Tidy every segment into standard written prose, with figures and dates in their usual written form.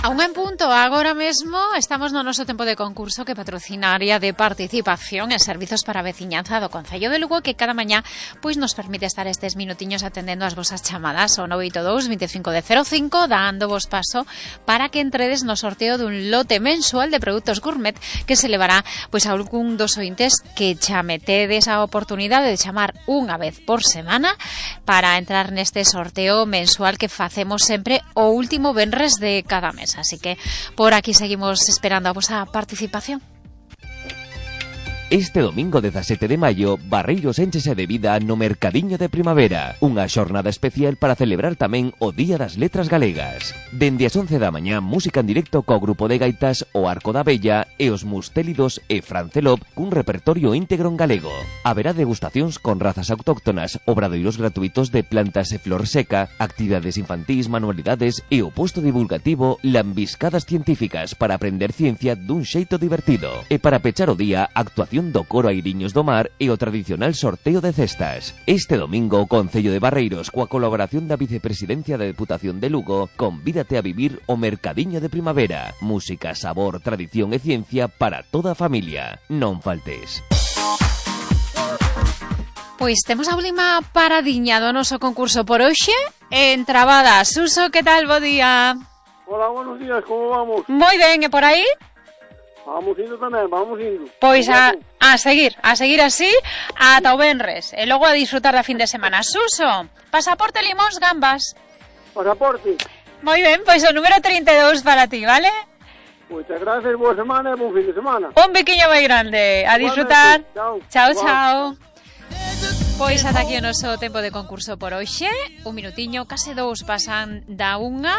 A un en punto, agora mesmo estamos no noso tempo de concurso que patrocina a área de participación e servizos para a veciñanza do Concello de Lugo, que cada mañá pois nos permite estar estes minutiños atendendo as vosas chamadas ao 982 25 de 05, dando vos paso para que entredes no sorteo dun lote mensual de produtos gourmet que se levará pois a algún dos ointes que chametedes a oportunidade de chamar unha vez por semana para entrar neste sorteo mensual que facemos sempre o último venres de cada mes. Así que por aquí seguimos esperando a vosa participación. Este domingo 17 de maio, Barreiros énchese de vida no Mercadiño de Primavera, unha xornada especial para celebrar tamén o Día das Letras Galegas. Dende as 11 da mañá, música en directo co grupo de gaitas O Arco da Bella e os Mustélidos e Francelop cun repertorio íntegro en galego. Haberá degustacións con razas autóctonas, obradoiros gratuitos de plantas e flor seca, actividades infantís, manualidades e o posto divulgativo Lambiscadas Científicas para aprender ciencia dun xeito divertido. E para pechar o día, actuación do coro Airiños do Mar e o tradicional sorteo de cestas. Este domingo o Concello de Barreiros, coa colaboración da Vicepresidencia da Deputación de Lugo, convídate a vivir o Mercadiño de Primavera. Música, sabor, tradición e ciencia para toda a familia. Non faltes. Pois temos a última paradiña do noso concurso por hoxe. Entrabada, Suso, que tal? Bo día. Hola, buenos días, como vamos? Moi ben, e por aí? Vamos indo tamén, vamos indo. Pois a seguir así ata o venres e logo a disfrutar da fin de semana. Suso, pasaporte, limóns, gambas. Pasaporte. Moi ben, pois o número 32 para ti, vale? Moitas gracias, boa semana e bon fin de semana. Un biquiño moi grande, a disfrutar. Chao, chao. Pois ata aquí o noso tempo de concurso por hoxe. Un minutiño, case dous pasan da unha.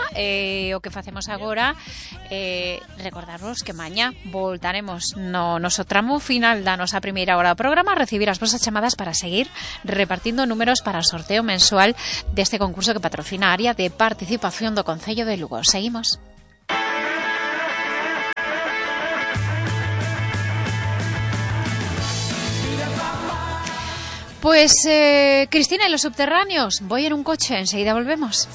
O que facemos agora recordarvos que mañá voltaremos no noso tramo final da nosa primeira hora do programa a recibir as vosas chamadas para seguir repartindo números para o sorteo mensual deste concurso que patrocina a área de participación do Concello de Lugo. Seguimos. Pues, Cristina, en los subterráneos, voy en un coche, enseguida volvemos.